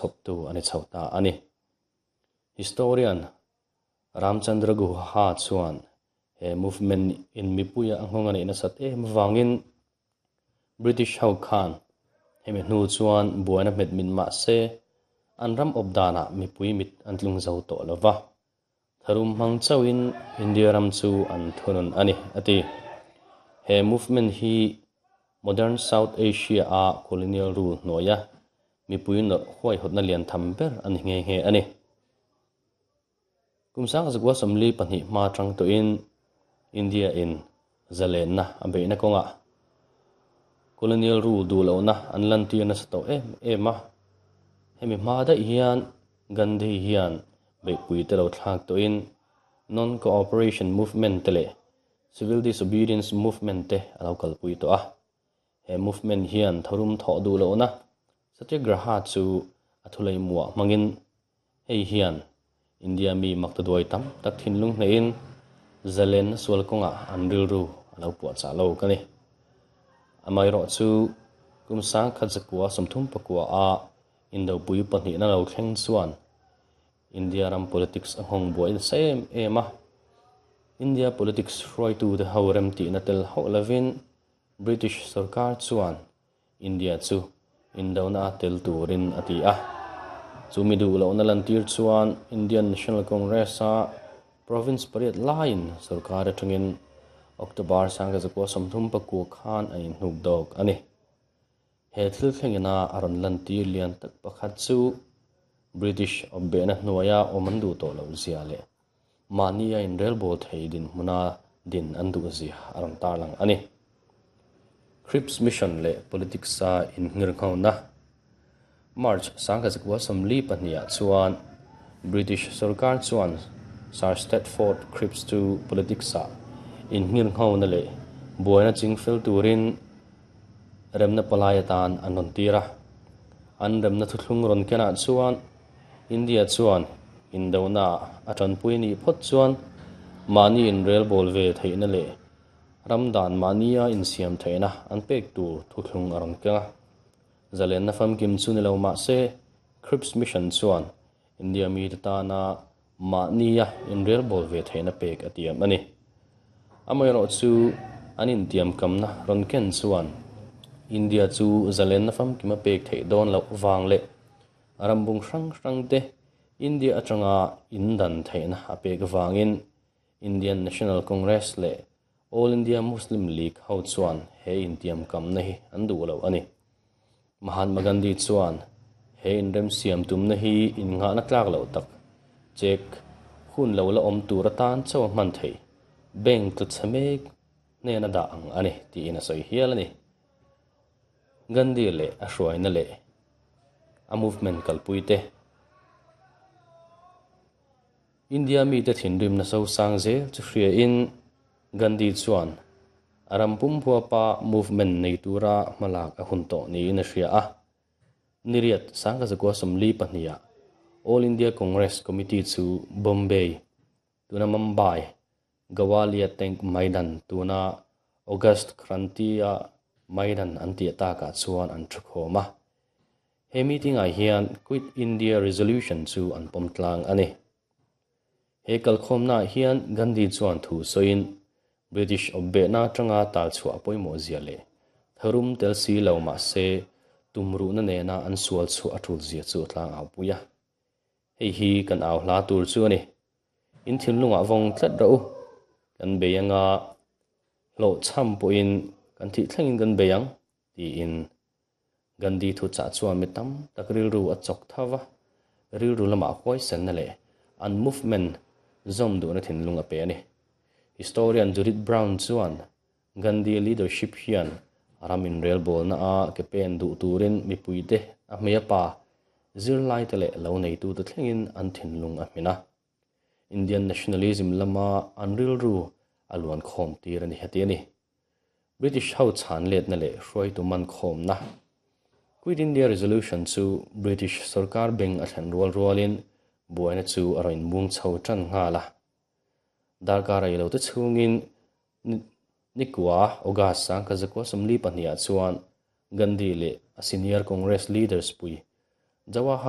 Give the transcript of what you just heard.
chhawptu a ni chho ta a ni. Historian Ramchandra Guha chuan he movement in mipuia a nghawng a neih nasat em avangin British ho khan hemi hnu chuan buaina hmet min mah se an ram awp danah mipui mit an tlung zo tawh lo va, tharum hmang chauhin India ram chu an thunun a ni, a ti. He movement hi Modern South Asia-a colonial rule hnuaia mipui nawrh huaihawtna lian tham ber a ni nghe nghe a ni. Kum 1942 hma atang tawhin India-in zalenna a beihna kawngah colonial rule duh lohna an lantir nasa tawh em em a. Hemi hma daih hian Gandhi hian beihpui te lo thlak tawhin Non-Cooperation Movement te leh Civil Disobedience Movement te a lo kalpui tawh a. He movement hian tharum thawh duh lohna Satyagraha chu a thulei muah hmangin hei hian India mi maktaduai tam tak thinlung hneihin zalenna sual kawngah an rilru a lo puahchah lo ka ni. Amaherawhchu kum 1939 a Indopui pahnihna lo thleng chuan India ram politics a nghawng buai nasa em em a. India politics hruaitute ho remtihna tel hauh lovin British sorkar chuan India chu indona a tel turin a ti a. Chu mi duh lohna lantir chuan Indian National Congress-a province pariat laiin sorkar atangin October 1939 khan an inhnuk dawk a ni. He thil thlengina a rawn lantir lian tak pakhat chu British awpbehna hnuaia awm an duh tawh loh zia leh mahni a inrelbawl thei dinhmuna din an duh zia a rawn tarlang a ni. Cripps Mission leh Politics-a innghirnghona March 1942 ah chuan British sorkar chuan Sir Stafford Cripps chu politics-ah innghirnghona leh buaina chingfel turin remna palai atan an rawn tir a. An remna thuthlung rawn kenah chuan India chuan indona a tanpui nih phawt chuan mahni inrelbawl ve theihna leh ram dan mahnia insiam theihna an pek tur thuthlung a rawn keng a. Zalenna famkim chu ni lo mah se Cripps Mission chuan India mite tana mahnia inrelbawl ve theihna pek a tiam a ni. Amaherawhchu an intiamkamna rawn ken chuan India chu zalenna famkima pek theih dawn loh vang leh rambung hrang hrangte India atanga indan theihna a pek vangin Indian National Congress leh All India Muslim League ho chuan he intiamkamna hi an duh lo a ni. Mahatma Gandhi chuan he inremsiam tumna hi innghahna tlak loh tak, check hun lo la awm tur atan chauh a hman theih, bank tla chhe mek hnena dah ang a ni tiin a sawi hial a ni. Gandhi leh a hruaina leh a movement kalpui te, India mite thinrimna sosang zel chu hriain Gandhi chuan a ram pum huapa movement nei tura hmalak a hun tawh niin a hria a. Niriat 1942 ah All India Congress Committee chu Bombay, tuna Mumbai, Gowalia Tank Maidan tuna August Kranti-a Maidan an tih takah chuan an thukhawm a. He meeting-ah hian Quit India Resolution chu an pawm tlang a ni. He kalkhawmnaah hian Gandhi chuan thu sawiin British awpbehna atanga talchhuah pawimawh zia leh tharum tel si lo mah se tumruhna nena an sual chhuah a tul zia chu a tlang au pui a. Hei hi kan au hla tur chu a ni. In thinlungah vawng tlat rawh u. Kan bei anga hlawhchham pawhin kan thih thlengin kan bei ang tiin Gandhi thuchah chuan mi tam tak rilru a chawk tho va, rilru lamah huaisenna leh an movement zawm duhna thinlung a pe a ni. Historian Judith Brown chuan Gandhi leadership hian ram inrelbawlna a ke pen duh turin mipuite a hmei a pa, zirlaite leh lo neitute thlengin an thinlung a hmin a. Indian nationalism lama an rilru a luankhawm tir a ni heti a ni. British ho chhan letna leh hruaitu man khawmna Quit India Resolution chu British sorkar beng a thlen rual rualin buaina chu a rawn inmung chho tan nghal a. Darkar ei lo te chhungin Nikua, August 1942 ah chuan Gandhi leh a senior Congress leaders pui Jawahar.